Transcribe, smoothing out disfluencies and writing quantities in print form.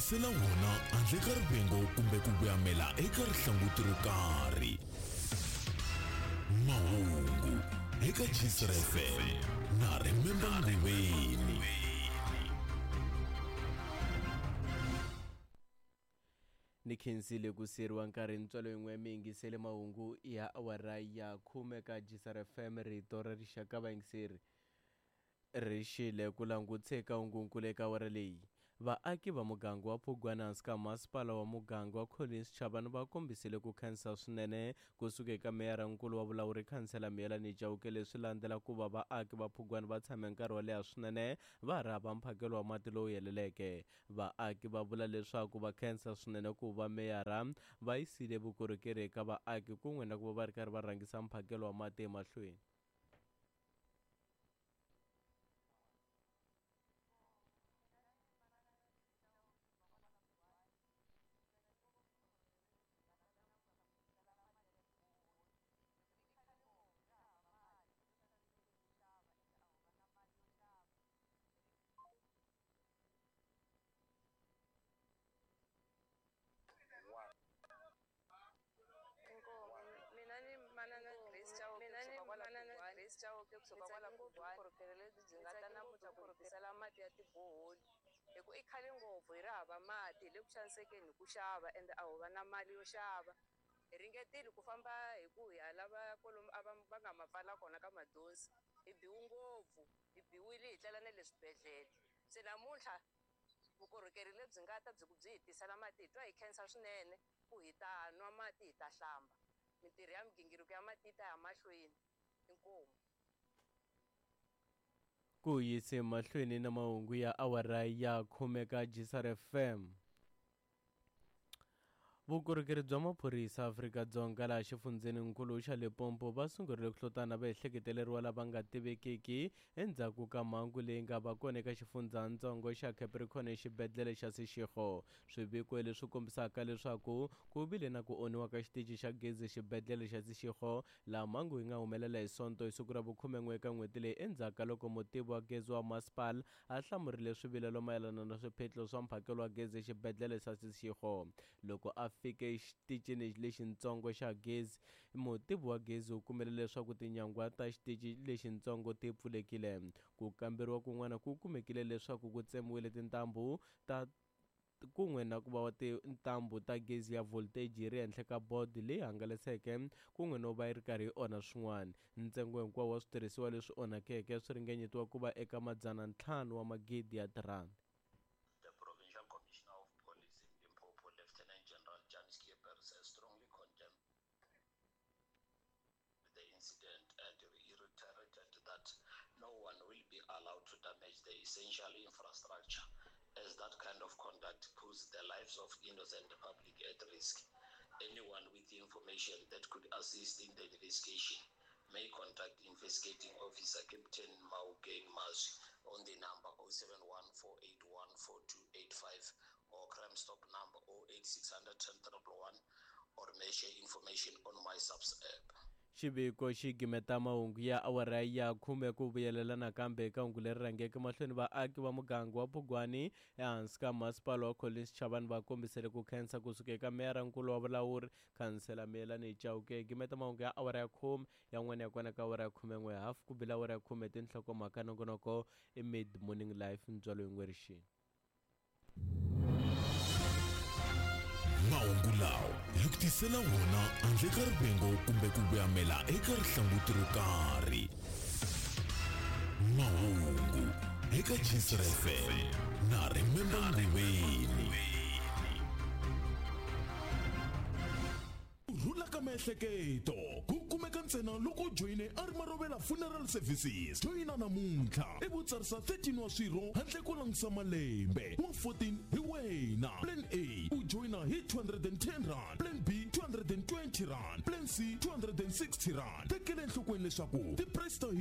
tisela wona handle ka rivengo kumbe ku voyamela eka rihlanguti ro karhi. Mahungu eka Gcr FM na Remember Nguveni. Ni khensile ku siyeriwa nkarhi ntswalo yin'we mi yingisele mahungu ya awara ya khume ka Gcr FM rito ra rixaka vayingiseri. Ri xile ku langutisa eka hungunkulu eka awara leyi. Vaaki va muganga wa Phugwana hansi ka masipala wa muganga wa Collins Chabane va kombisile ku khensa swinene ku suka eka meyara-nkulu wa vulawuri Khansela Miyelani Chauke leswi landzela ku va vaaki va Phugwana va tshame nkarhi wo leha swinene va ha ri hava mphakelo wa mati lowu heleleke. Vaaki va vula leswaku va khensa swinene ku va meyara va yisile vukorhokeri eka vaaki kun'we na ku va va ri karhi va rhangisa mphakelo wa mati emahlweni. Inkomu mina ni manana Grace Chauke Mina ni kusuka kwala manana Phugwana. Grace Chauke Ni kusuka kwala tsake ngopfu Phugwana. vukorhokeri lebyi byi Ni nga ta tsake namuntlha ngopfu ku hi vukorhokeri tisela mati ya tiboholi hi ku i khale ngopfu hi ri hava mati hi le ku xanisekeni hi ku xava ende a ho va na mali yo xava hi ringetile ku famba hi ku hi ya lava kwalomu a va va nga ma pfala kona ka madosi hi biwe ngopfu hi biwile hi tlela na le swibedhlele se namuntlha vukorhokeri lebyi nga ta byi ku byi hi tisela mati hi twa hi khensa swinene ku hi ta nwa mati hi ta hlamba mintirho ya migingiriko ya mati yi ta ya mahlweni inkomu. Ku yise mahlweni na mahungu ya awara ya khume ka Gisar FM. Vukorhokeri bya maphorisa Afrika-Dzonga laha xifundzheninkulu xa Limpopo va sungurile ku hlotana vaehleketeleriwa lava nga tivekiki endzhaku ka mhangu leyi nga va kona eka xifundzhantsongo xa Capricorn exibedhlele xa Seshego. Swiviko leswi kombisaka leswaku ku vile na ku onhiwa ka xitichi xa gezi exibedhlele xa Seshego laha mhangu yi nga humelela hi Sonto hi siku ra vukhumen'we eka n'hweti leyi endzhaku ka loko mutivi wa gezi wa masipala a hlamurile swivilelo mayelana na swiphiqo swa mphakelo wa gezi exibedhlele xa Seshego. Loko a fike exitichini lexintsongo xa gezi, mutivi wa gezi u kumile leswaku tinyangwa ta xitichi lexintsongo ti pfulekile. Ku kamberiwa kun'wana ku kumekile leswaku ku tsemiwile tintambu ta kun'we na ku va tintambu ta gezi ya voltage yi ri henhla ka board leyi hangalaseke kun'we no va yi ri karhi yi onha swin'wana. Ntsengo hinkwawo wa switirhisiwa leswi onhakeke swi ringanyetiwa ku va eka madzana ntlhanu wa magidi ya tirhandi. The Provincial Commissioner of Police in Limpopo, Lieutenant General Jan Scheepers, has strongly condemned the incident and reiterated that no one will be allowed to damage the essential infrastructure, as that kind of conduct puts the lives of innocent public at risk. Anyone with information that could assist in the investigation may contact investigating officer Captain Maugeng Mazwi on the number 071-481-4285 or Crime Stop number 08600 10 111 or may share information on my subs app. Xiviko xi gimeta mahungu ya awara ya khume ku vuyelela nakambe eka hungu leri rhangeke mahlweni vaaki va muganga wa Phugwani ehansi ka masipala wa Collins Chabane va kombisele ku khensa kusuka eka meyara-nkulu wa vulawuri khansela Miyelani Chauke. Gimeta mahungu ya awara ya khume yan'wana ya kona ka awara ya khumen'we hafu ku bila awara ya khume tinhlokomhaka nongonoko i Mid Morning Life ntswalo yin'we rixini. Mahungu lawa hi ku tisela wona handle ka rivengo kumbe ku voyamela eka rihlanguti ro karhi. Mahungu eka Gcr FM na Remember Nguveni. Ku rhula ka miehleketo ku kumeka ntsena loko u joyine Armarovela Funeral Services. Joyina namuntlha ivi u tsarisa 13 wa swirho handle ko langutisa malembe. Wa 14 hi wena. Plan A u joyina hi 210 rand, Plan B 220 rand, Plan C 260 rand. Tekela enhlokweni leswaku ti-price ta hina